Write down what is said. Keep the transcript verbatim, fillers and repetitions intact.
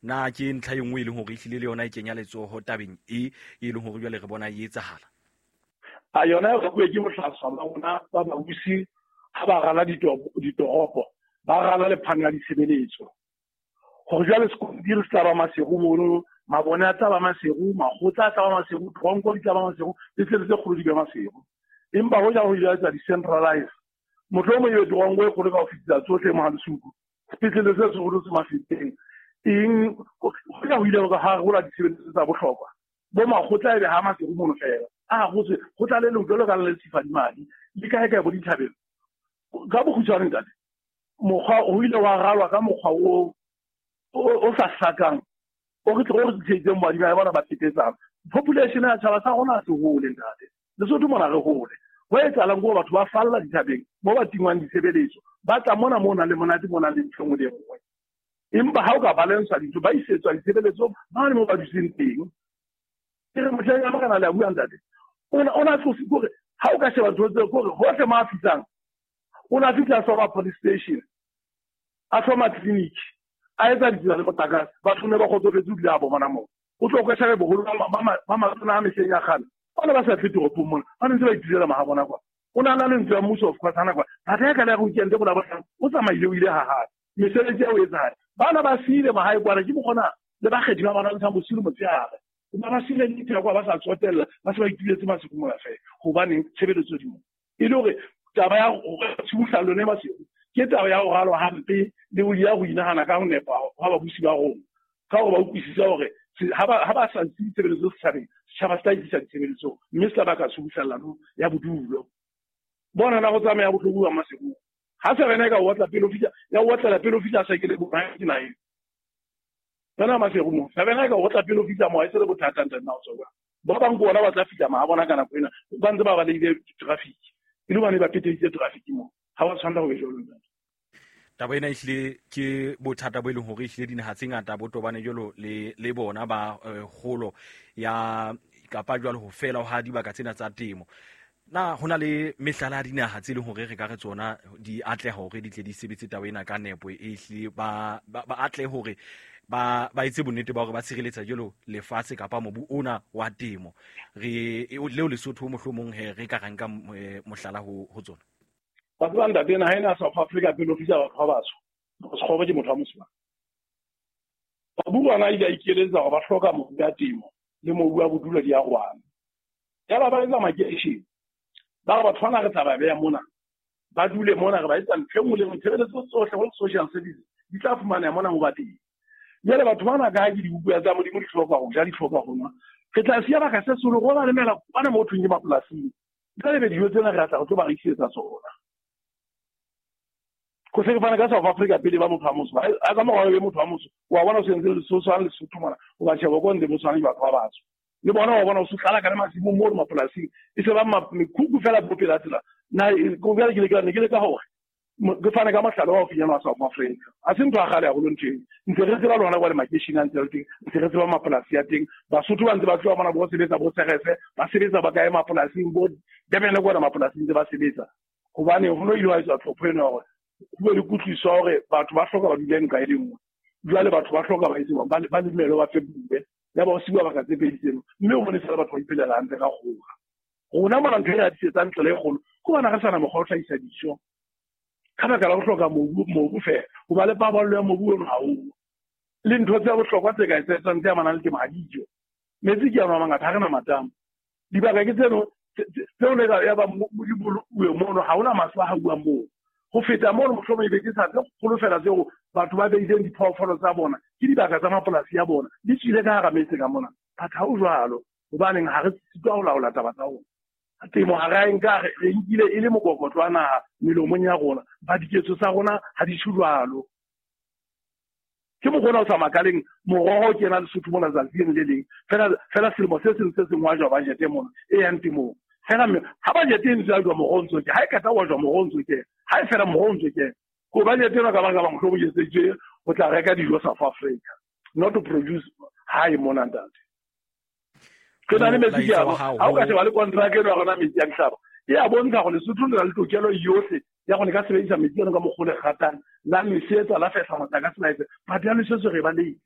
Na ke ntlha e nngwe e leng hore ehlile le yona e kenya letsoho tabeng e e leng hore jwale re bona e etsahala? A yona e rakuwe ke bohlaswa ba rona ba babusi ha ba rala ditoropo, ba rala le phano ya ditshebeletso. Hore jwale sekontiri se tla ba Maseru mono, mabone a tla ba Maseru, makgotla a tla ba Maseru, tronko di tla ba Maseru, le tse tse kgolo di be Maseru. Empa hoja ho ile etsa di-centralize, mohlomong ebe tronko e kgolo ka ho fetisa tsohle mo Halesuku, sepetlele se seholo se Mafeteng. Eng hoja ho ile ha rola ditshebeletso tsa bohlokwa, bo makgotla ebe ha Maseru mono fela. A hotswe ho tla le leng jwalo ka le Sifadimadi le kae kae bo dithabeng. Ka bokgutshwane ntate, mokgwa o ile wa ralwa ka mokgwa o o sa hlakang, o re tlo re tshehetseng boadima bona ba phetetsang. Population ya tjhaba sa rona se hole ntate. Lesotho mona re hole. Ho etsahalang ke hore batho ba falla dithabeng mo ba tingwang ditshebeletso, ba tla mona mo nang le monate, mo nang le ntho e nngwe le e nngwe. Empa ha o ka balance dintho, ba isetswa ditshebeletso mane mo ba dutseng teng. Ke re mohleng ya morena le a bua ntate, o na tlose kore ha o ka sheba ntho tseo kore hohle mo a fihlang, o na fihla a hloma police station, a hloma clinic, a etsa ditsela le motlakase, batho ne ba kgotsofetse ebile a bo bona moo. O tlo kwesha boholo ba matona a mehleng ya kgale, ba ne ba sa tle toropong mona, ba ne ntse ba itulela maha bona kwa. O na na le ntlo ya mmuso of course hana kwa. Batho ya ka le ya weekend go la bona, o tsamaile o ile ha hae. Mesebetsi ya o etsahala. Bana ba siile mahae kwana, ke mokgona le bakgethi ba bona ntshang bosiu le motshehare. Ba ba siile ditsela kwa ba sa tsotella, ba se ba ituletse Maseru mona fela. Hobaneng tshebeletso di mo. E le hore taba ya tshubuhlalo ne Maseru ke taba ya ho ralwa hampe le ho ya ho inahana ka ho nepa ha babusi ba rona. Ka hore ba utlwisise hore ha ba ha ba sa ntse ditshebeletso setjhabeng, setjhaba se tla itlisa ditshebeletso mme se tla baka tshubuhlellano ya bodulo. Bona na go tsamaya bohloko ba Maseru. Ha se rena ka o otla pele o fihla, ya o otlela pele o fihla saekele bo ke na eng. Tsena Maseru mo, se rena ka o otla pele o fihla mo, ha e se le bothata ntate na o tswa. Ba bang ke bona ba tla fihla ma bona ka nako ena, ba ntse ba balehile traffic. E le bane ba peteditse traffic mo. Ha wa tshwanela ho be jwalo ntate. Taba ena ehlile ke bothata bo e leng hore ehlile dinaha tse ngata bo tobane jwalo le le bona ba kgolo ya kapa jwalo ho fela ha dibaka tsena tsa temo. Na hona le mehlala ya dinaha tse leng hore re ka re tsona di atleha hore di tle di sebetse taba ena ka nepo, e ehlile ba ba atlehe hore ba ba etse bonnete ba hore ba tshireletsa jwalo lefatshe kapa mobu ona wa temo. Re leo Lesotho mohlomong he re ka ra nka mohlala ho ho tsona. Batho ba ntate naha ena South Africa pele o fihla batho ba batsho, Sekgobo ke motho wa mosimane. Baburu bana ile a ikeletsa hore ba hloka mobu ya temo le mobu wa bodulo di a rwana. Yaba ba etsa makeishene, ba re batho bana re tla ba beha mona, ba dule mona, re ba etsa ntho e nngwe le nngwe, tshebeletso tsohle ho social service di tla fumaneha mona mo ba teng. Jwale batho bana ka ha ke dibuka tsa Modimo di hloka ho ja, di hloka ho nwa, re tla siya baka se solo go ba lemela bana mo thweng ke mapolasing. Jwale be dijo tsena re tla re tlo ba rekisetsa tsona. Ko se ke fana ka South Africa pele ba motho wa motsho, a ka morao be motho wa motsho, wa bona o sentse le Lesotho le Lesotho mona, o ba sheba ko ntle motho wa batho ba batsho. Le bona wa bona o se tlala ka masimo mo mapolasing, e se ba mekhukhu fela bo pela tsela. Na ko bjale ke le ka ne ke le ka hore ke fane ka mohlala wa ho finyana wa South Africa. A se ntho ya kgale haholo ntho eo. Ntse re tseba lona kwa le makeishene a ntse le teng, ntse re tseba mapolasi a teng. Basotho ba ntse ba tloha mona bo sebetsa bo Serese, ba sebetsa ba kae mapolasing, bo Durban kwana mapolasing ntse ba sebetsa. Hobane ho no ile wa etswa tlhopho eno hore ho be le kutlwisiso ya hore batho ba hloka ba dule nqa e le nngwe. Jwale batho ba hloka ba etse ba ba lemele ba fepuwe. Ya ba o siwa baka tse pedi tseno, mme o bone fela batho ba iphelela hantle ka kgoka. Rona mona ntho e re atisetsang tsela e kgolo, ke hobane re sa na mokgwa wa ho hlahisa dijo. Ka baka la ho hloka mobu, mobu fela, ho ba le paballo ya mobu ono ha o. Le ntho tse bohlokwa tse ka etsetsang tse amanang le temo ha dijo. Metsi ke a mangata, ha re na matamo. Dibaka ke tseno tseo le ya ba di bolokuwe mono, ha hona maswe a hauwang moo. Ho feta mono mohlomong ebe ke sa tse kgolo fela tseo batho ba beileng diphoofolo tsa bona, ke dibaka tsa mapolasi a bona, di tswile ka hara metse ka mona. Batho ha ho jwalo, hobaneng ha re sitwa ho laola taba tsa rona. Temo ha re a e nka, re nkile e le mokokotlo wa naha melomong ya rona, ba diketso tsa rona ha di tjho jwalo. Ke mokgwa ona o sa makaleng, moroho ke ena Lesotho mona tsatsi le le leng. Fela, fela selemo se seng se seng wa jwa budget mona e yang temong. Fela mme ha budget e ntse ya jwa moroho ntso ke, ha e qeta wa jwa moroho ntso ke, ha e fela moroho ntso ke. Ko budget ena ka baka ba mohlomong e etseditswe ho tla reka dijo South Africa, not to produce hae mona ntate. Ke na le metsi ke a, ha o ka sheba le contract eno ya rona metsi a dihlaba, e a bontsha hore Lesotho le na le tokelo yohle ya gore le ka sebedisa metsi ano ka mokgwa o le ratang, la nosetsa, la fehla motlakase, la etsa. But ya nosetso re ba leile.